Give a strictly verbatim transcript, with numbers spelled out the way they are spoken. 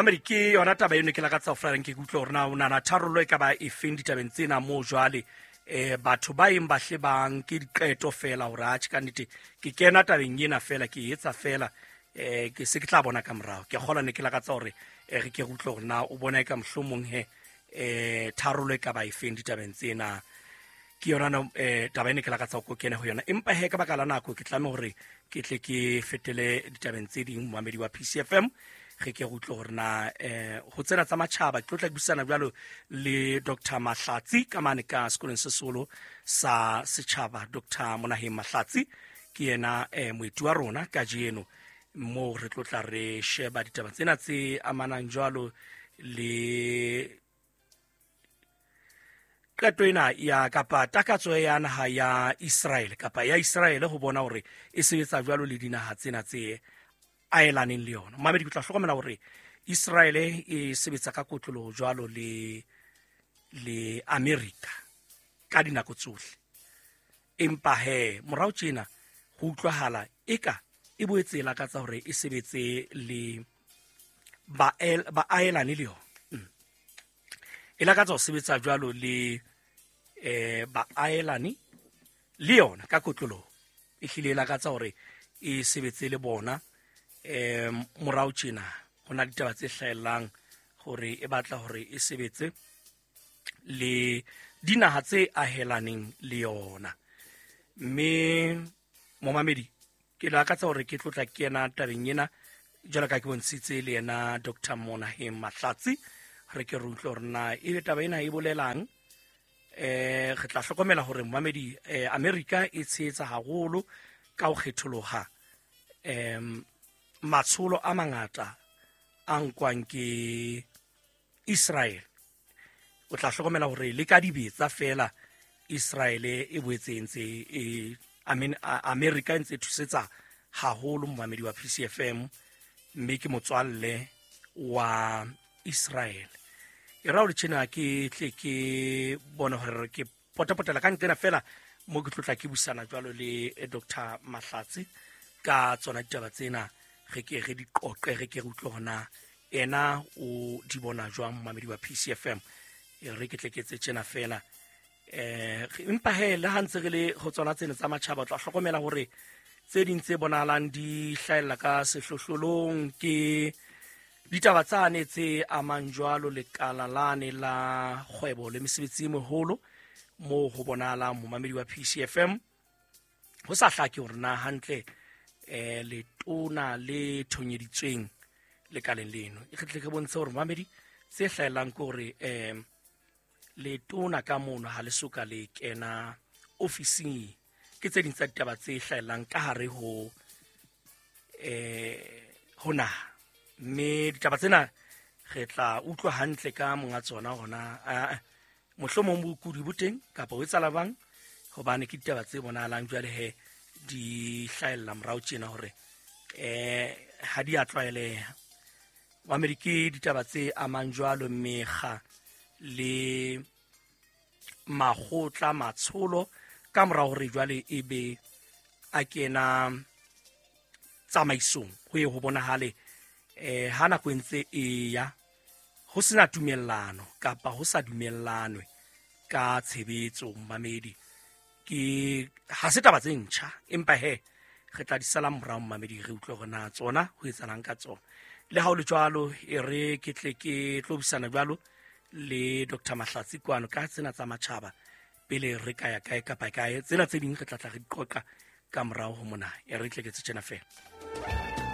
Mamedi, ke yona taba eno ke lakatsa ho fela nke ke utlwe hore na o nahana tharollo e ka ba efeng ditabeng tsena moo jwale eh batho ba eng ba hle ba nke diqeto fela hore atjhe ka nnete ke kena tabeng ena fela ke etsa fela eh ke se ke tla bona ka morao. Ke kgolwa ne ke lakatsa hore re ke re utlwe hore na o bona e ka mohlomong he eh tharollo e ka ba efeng ditabeng tsena. Ke yona no eh taba ene ke lakatsa ho kena ho yona, empa he ka baka la nako ke tlameha hore ke tle ke fetele ditabeng tse ding. Momamedi wa P C F M, re ke re utlwe hore na eh ho tsena tsa matjhaba ke tlo tla buisana jwalo le Doctor Mahlatsi ka mane ka sekolong se seholo sa setjhaba. Doctor Monaheng Mahlatsi ke yena eh moeti wa rona kajeno, moo re tlo tla re sheba ditaba tsena tse amanang jwalo le qeto ena ya kapa takatso ya naha ya Israel kapa ya Israel ho bona hore e sebetsa jwalo le dinaha tsena tse aelaneng le yona. Mamedi, ke tla hlokomela hore Israel e sebetsa ka kotloloho jwalo le le America ka dinako tsohle, empa he morao tjena ho utlwahala eka e boetse e lakatsa hore e sebetse le ba baaelane le yona. E lakatsa ho sebetsa jwalo le eh baaelane le yona ka kotloloho, e hlile e lakatsa hore e sebetse le bona. Eh morao tjena ho na ditaba tse hlahellang hore e batla hore e sebetse le dinaha tse ahelaneng le yona. Mme momamedi, ke lakatsa hore ke tlotla ke yena tabeng ena jwalo ka ke bontshitse le yena Doctor Monaheng Mahlatsi, re ke re utlwe hore na ebe taba ena e bolelang. Eh re tla hlokomela hore momamedi, eh America e tshehetsa haholo ka ho kgetholoha em matsholo a mangata a nkwang ke Israel. O tla hlokomela hore le ka dibetsa fela Israel e boetse e ntse e I mean America e ntse e thusetsa haholo momamedi wa P C F M, mme ke motswalle wa Israel. E ra hore tjena ke tle ke bone hore ke potapotela ka nqena fela mo ke tlotla ke busana jwalo le Doctor Mahlatsi ka tsona ditaba tsena, re ke re di qoqe, re ke re utlwe hore na ena o di bona jwang momamedi wa P C F M. E re ke tle ke etse tjena fela. Eh empa he le ha ntse re le ho tsona tsena tsa matjhaba, o tla hlokomela hore tse ding tse bonahalang di hlahella ka sehlohlolong ke ditaba tsane tse amang jwalo lekala lane la kgwebo le mesebetsi e meholo, moo ho bonahalang momamedi wa P C F M ho sa hlake hore na hantle eh letona le thonyeditsweng lekaleng leno. E tle ke bontshe hore momamedi tse hlahellang ke hore eh letona ka mono ha le soka le kena ofising. Ke tse ding tsa ditaba tse hlahellang ka hare ho eh ho naha, mme ditaba tsena re tla utlwa hantle ka monga tsona hona mohlomong bokudi bo teng kapa ho etsahala bang, hobane ke ditaba tse bonahalang jwale he di hlahella morao tjena hore eh ha di a tlwaeleha. Mamedi, ke ditaba tse amang jwalo mekga le makgotla matsholo ka mora hore jwale e be a kena tsamaisong, ho ye ho bonahale eh ha nako e ntse e ya ho sena tumellano kapa ho sa dumellanwe ka tshebetso. Mamedi, ke ha se taba tse ntjha, empa he re tla di sala morao mamedi, re utlwe hore na tsona ho etsahalang ka tsona. Le ha ho le jwalo, e re ke tle ke tlo buisana jwalo le Doctor Mahlatsi kwano ka tsena tsa matjhaba pele re ka ya kae kapa kae. Tsena tse ding re tla tla re di qoqa ka morao ho mona. E re tle ke tse tjena fela.